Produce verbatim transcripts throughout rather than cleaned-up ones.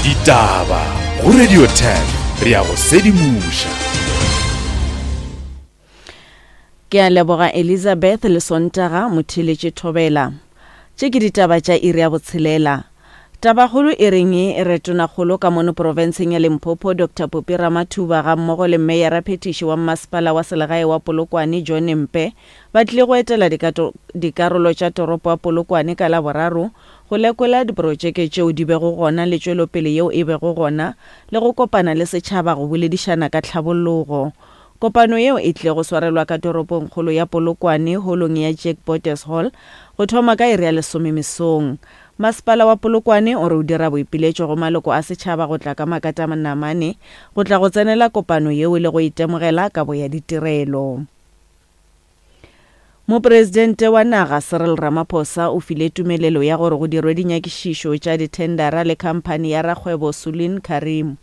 Ditaba go Radio ten, re a go sedimoša. Ke a leboga Elizabeth le Sontaga motheletše Thobela. Tše ke ditaba tša iri ya botshelela. Tabakgolo e reng e re tonakgolo ka mono profenseng ya Limpopo Doctor Phophi Ramathuba ga mmogo le meyara phetiši wa mmasepala wa selegae wa Polokwane John Mpe ba tlile go etela dikarolo tša toropo ya Polokwane ka Laboraro go lekola diprotšeke tšeo di bego gona le tšwelopele yeo e bego gona le go kopana le setšhaba go boledišana ka tlhabologo. Kopano yeo e tlile go swarelwa ka toropongkgolo ya Polokwane holong ya Jack Botes Hall go thoma ka iri ya lesome mesong. Masepala wa Polokwane o re o dira boipiletšo go maloko a setšhaba go tla ka makatanamane go tla go tsenela kopano yeo le go itemogela kabo ya ditirelo. Mopresidente wa naga Cyril Ramaphosa o file tumelelo ya gore go dirwe dinyakišišo tša dithendara le khamphani ya rakgwebo Sulin Karim.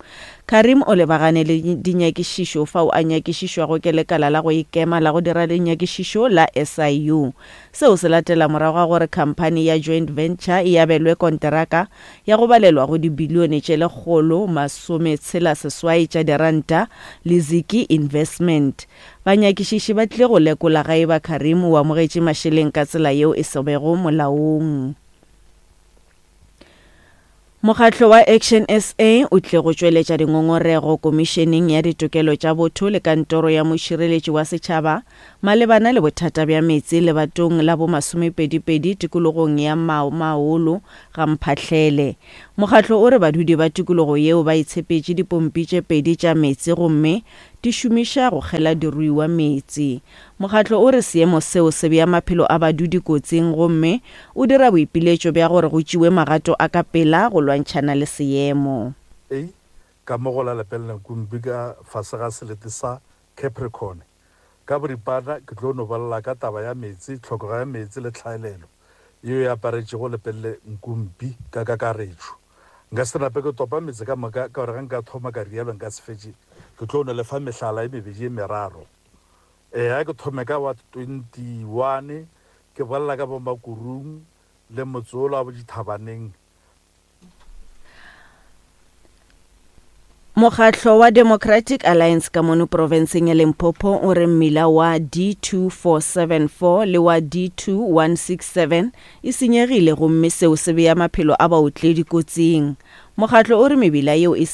Karim o lebagane le dinyakišišo fao a nyakišišwago ke lekala la go ikema la go dira dinyakišišo la S I U. Seo se latela morago ga gore khamphani ya joint venture e abelwe konteraka ya go balelwa go dibilione tše lekgolo masome tshela seswai tša diranta le Ziki Investment. Banyakišiši ba tlile go lekola ga eba Karim o amogetše mašeleng ka tsela yeo e sebego molaong. Mokgatlo wa Action S A o tlile go tšweletša dingongorego komišeneng ya ditokelo tša botho le kantoro ya mošireletši wa setšhaba malebana le bothata bja meetse lebatong la bo masomepedipedi tikologong ya Maolo ga Mphahlele. Mokgatlo o re badudi ba tikologo yeo ba itshepetše dipompi tše pedi tša meetse gomme di šomiša go kgela diruiwa meetse. Mokgatlo o re seemo seo se bea maphelo a badudi kotsing gomme o dira boipiletšo bja gore go tšewe magato a ka pela go lwantšhana le seemo. A ka mo go la Lepelle Nkumpi ka fase ga selete sa Capricorn. Ka boripana ke tlo no bolela ka taba ya meetse, tlhokego ya meetse le tlhaelelo yeo e aparetšego Lepelle Nkumpi ka kakaretšo. Nka se nape ke topa meetse ka moka ka gore ge nka thoma ka rialo nka se fetše. Ke tlo no lefa mehlala e mebedi e meraro. Eh, a ke thome ka wa twenty-one ke bolela ka bo Makurung le motse ola wa bo Dithabaneng. Mokgatlo wa Democratic Alliance ka mono profenseng ya Limpopo o re mmila wa D two four seven four le wa D two one six seven e senyegile gomme seo se bea maphelo a baotledi kotsing. Mokgatlo o re mebila yeo e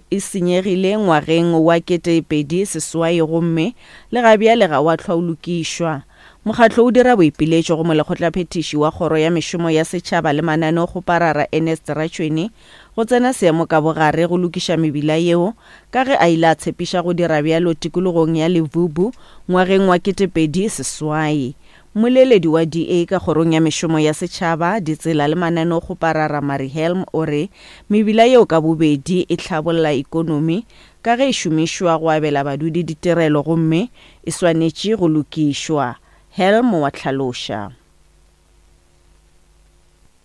e senyegile ngwageng wa ketepedi seswai gomme le ga bjale ga wa hlwa o lokišwa. Mokgatlo o dira boipiletšo go molekgotlaphethiši wa kgoro ya mešomo ya setšhaba le mananeokgoparara Ernest Ratšhweni go tsena seemo ka bogare go lokiša mebila yeo ka ge a ile a tshepiša go dira bjalo tikologong ya Levubu ngwageng wa ketepedi seswai. Mmoleledi wa D A ka kgorong ya mešomo ya setšhaba, ditsela le mananeokgoparara Mari Helm o re mebila yeo ka bobedi e hlabolla ikonomi ka ge e šomišwa go abela badudi ditirelo gomme e swanetše go lokišwa. Helm wa hlaloša.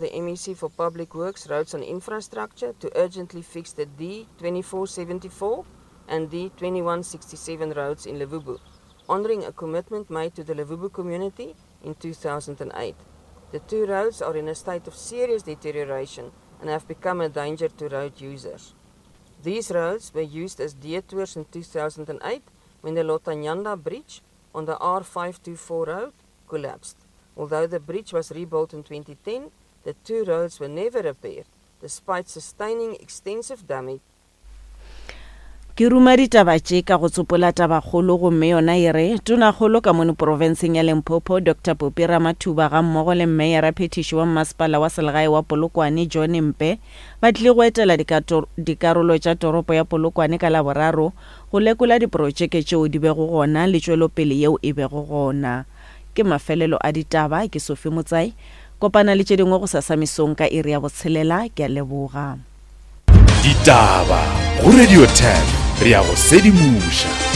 The M E C for Public Works, Roads and Infrastructure to urgently fix the D twenty-four seventy-four and D twenty-one sixty-seven roads in Levubu, honouring a commitment made to the Levubu community in two thousand eight. The two roads are in a state of serious deterioration and have become a danger to road users. These roads were used as detours in two thousand eight when the Lotanyanda Bridge on the R five two four road collapsed. Although the bridge was rebuilt in twenty ten, the two roads were never repaired, despite sustaining extensive damage. Ke ruma ditaba tše ka go tsopola tabakgolo gomme yona e re tonakgolo ka mono profenseng ya Limpopo Doctor Phophi Ramathuba ga mmogo le meyara phetiši wa mmasepala wa selegae wa Polokwane John Mpe ba tlile go etela dikarolo tša toropo ya Polokwane ka Laboraro go lekola diprotšeke tšeo di bego gona le tšwelopele yeo e bego gona. Ke mafelelo a ditaba, ke Sophie Motsai. Kopana le tše dingwe go sasa mesong ka iri ya botshelela. Ke a leboga. Ditaba go Radio ten, re a go sedimoša.